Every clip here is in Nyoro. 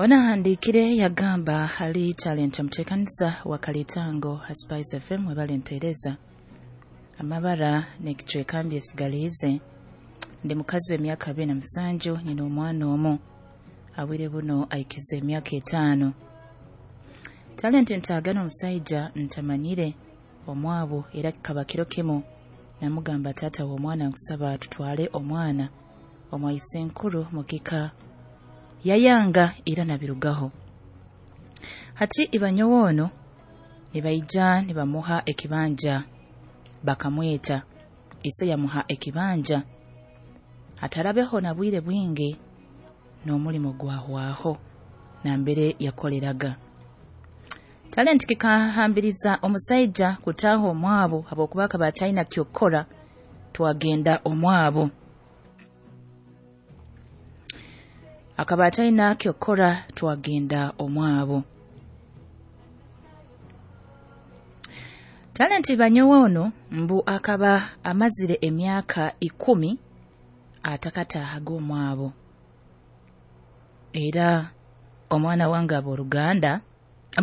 Ona ahandiikire yagamba hali Talent omuteekaniza wa Kalitango ha Spice FM, webale empeereza amabara n'ekicweka mbyesigaliize. Ndi mukazi w'emyaka 27, nyina omwana omu awire buno aikize emyaka 5. Talent ntaagana omusaija ntamanyire omwabo, era kikaba kiro kimu namugamba, taata w'omwana nkusaba tutwale omwana omwaise nkuru mukika, yayanga era nabirugaho. Hati ibanyowe ono nibaija nibamuha ekibanja, bakamweta ise yamuha ekibanja, hatarabeho na bwire bwingi n'omulimo gwahwaho nambere yakoleraga. Talent kikahambiriza omusaija kutaaha omwabo habwokuba akaba atalina kyokukora, twagenda omwabo. Akaba atalina kyokukora, twagenda omwabo. Talent banyowe ono mbu akaba amazire emyaka 10 atakataahaga omwabo, era omwana wange abooruganda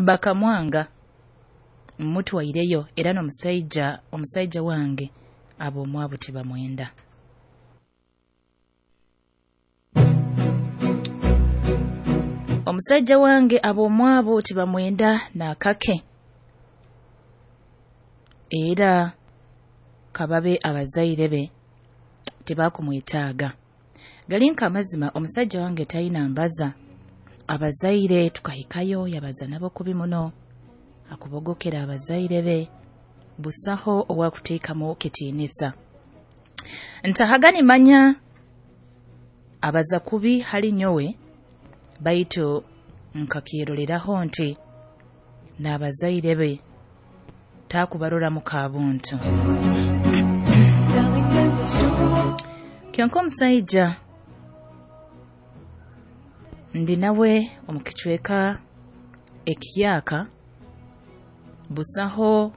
bakamwanga mutwaireyo, era n'omusaija omusaija wange ab'omwabo tibamwenda. Omusaija wange ab'omwabo tibamwenda n'akake, era kababe abazaire be tibakumwetaaga. Gali nk'amazima omusaija wange talina mbaza, abazaire tukahikayo yabaza nabo kubi muno, akubogokera abazaire be, busaho owakuteekamu kitiinisa. Ntahaga nimanya abaza kubi hali nyowe, baitu nkakyeroleraho nti n'abazaire be taakubaroramu kabuntu. Kyonka omusaija ndi nawe omu kicweka ekihyaka, busaho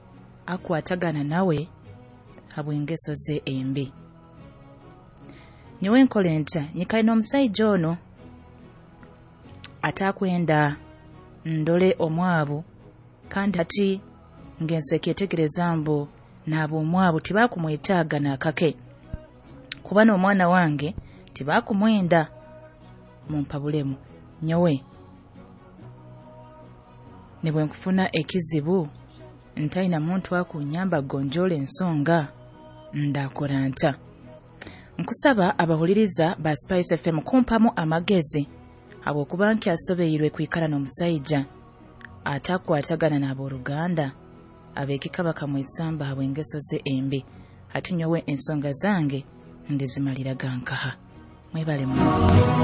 akwatagana nawe habw'engeso ze embi. Nyowe nkole nta? Nyikaire n'omusaija ono atakwenda ndole omwabo, kandi hati ngenze kyetegereza mbu n'ab'omwabo tibakumwetaaga n'akake, kuba n'omwana wange tibakumwenda. Mumpabulemu nyowe nibwe nkufuna ekizibu ntaina muntu akunyamba kugonjoora ensonga, ndakora nta? Nkusaba abahuliriza ba Spice FM kumpamu amagezi, habwokuba nkyasobeirwe kwikara n'omusaija atakwatagana n'abooruganda ab'ekika bakamwesamba habw'engeso ze embi. Hati nyowe ensonga zange ndizimaliraga nkaha? Mwebale muno.